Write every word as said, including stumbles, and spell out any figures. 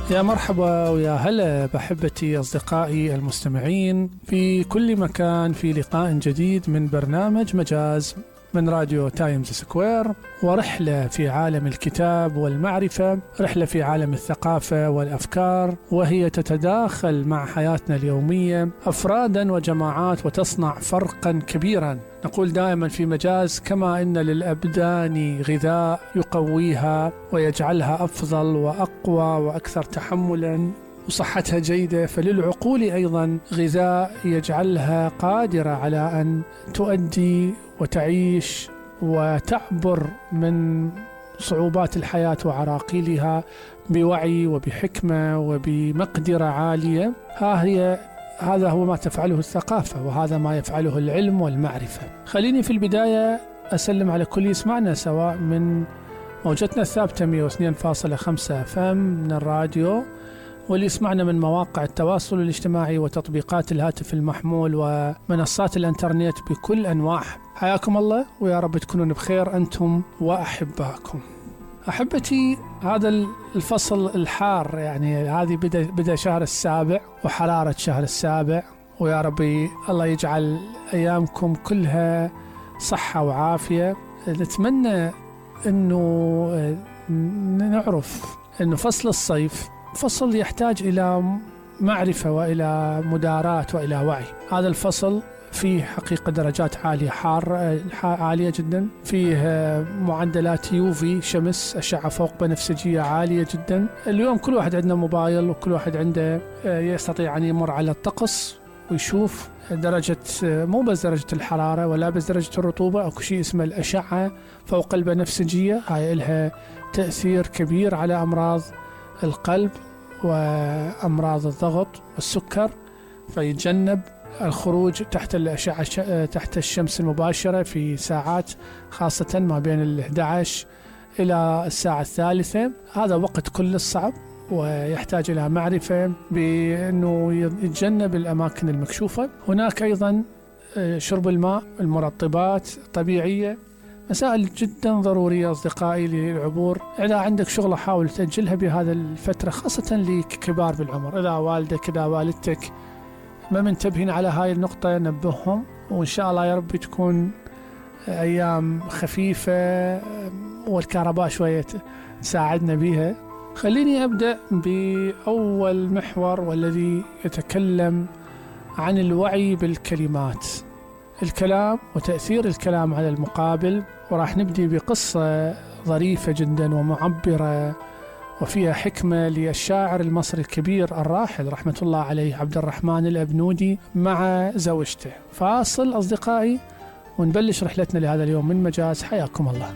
يا مرحبا ويا هلا بأحبتي أصدقائي المستمعين في كل مكان، في لقاء جديد من برنامج مجاز من راديو تايمز سكوير، ورحلة في عالم الكتاب والمعرفة، رحلة في عالم الثقافة والأفكار، وهي تتداخل مع حياتنا اليومية أفرادا وجماعات وتصنع فرقا كبيرا. نقول دائما في مجاز: كما إن للأبدان غذاء يقويها ويجعلها أفضل وأقوى وأكثر تحملا وصحتها جيدة، فللعقول أيضا غذاء يجعلها قادرة على أن تؤدي وتعيش وتعبر من صعوبات الحياة وعراقيلها بوعي وبحكمة وبمقدرة عالية. ها هي هذا هو ما تفعله الثقافة، وهذا ما يفعله العلم والمعرفة. خليني في البداية أسلم على كل يسمعنا، سواء من موجتنا الثابتة مئة واثنين فاصلة خمسة اف ام من الراديو، واللي يسمعنا من مواقع التواصل الاجتماعي وتطبيقات الهاتف المحمول ومنصات الانترنت بكل أنواعها. حياكم الله، ويا رب تكونون بخير أنتم وأحباكم. أحبتي، هذا الفصل الحار، يعني هذه بدأ, بدأ شهر السابع وحرارة شهر السابع، ويا ربي الله يجعل أيامكم كلها صحة وعافية. نتمنى أنه نعرف أنه فصل الصيف فصل يحتاج إلى معرفة وإلى مداراة وإلى وعي. هذا الفصل فيه حقيقة درجات عالية، حار عالية جدا، فيه معدلات يوفي شمس أشعة فوق بنفسجية عالية جدا. اليوم كل واحد عندنا موبايل، وكل واحد عنده يستطيع أن يمر على الطقس ويشوف درجة، مو بس درجة الحرارة ولا بس درجة الرطوبة، أو شيء اسمه الأشعة فوق البنفسجية. هاي لها تأثير كبير على أمراض القلب وأمراض الضغط والسكر، فيتجنب الخروج تحت الأشعة تحت الشمس المباشرة في ساعات، خاصة ما بين الإحدى عشر إلى الساعة الثالثة. هذا وقت كل الصعب، ويحتاج إلى معرفة بأنه يتجنب الأماكن المكشوفة. هناك أيضا شرب الماء، المرطبات الطبيعية، مسائل جدا ضرورية أصدقائي للعبور. إذا عندك شغلة حاول تأجلها بهذا الفترة، خاصة لكبار بالعمر. إذا والدك إذا والدتك ما منتبهين على هاي النقطة نبههم، وإن شاء الله يا رب تكون أيام خفيفة والكهرباء شوية تساعدنا بيها. خليني أبدأ بأول محور، والذي يتكلم عن الوعي بالكلمات، الكلام وتأثير الكلام على المقابل. وراح نبدي بقصة ظريفة جدا ومعبرة وفيها حكمة للشاعر المصري الكبير الراحل رحمة الله عليه عبد الرحمن الأبنودي مع زوجته. فاصل أصدقائي ونبلش رحلتنا لهذا اليوم من مجاز. حياكم الله.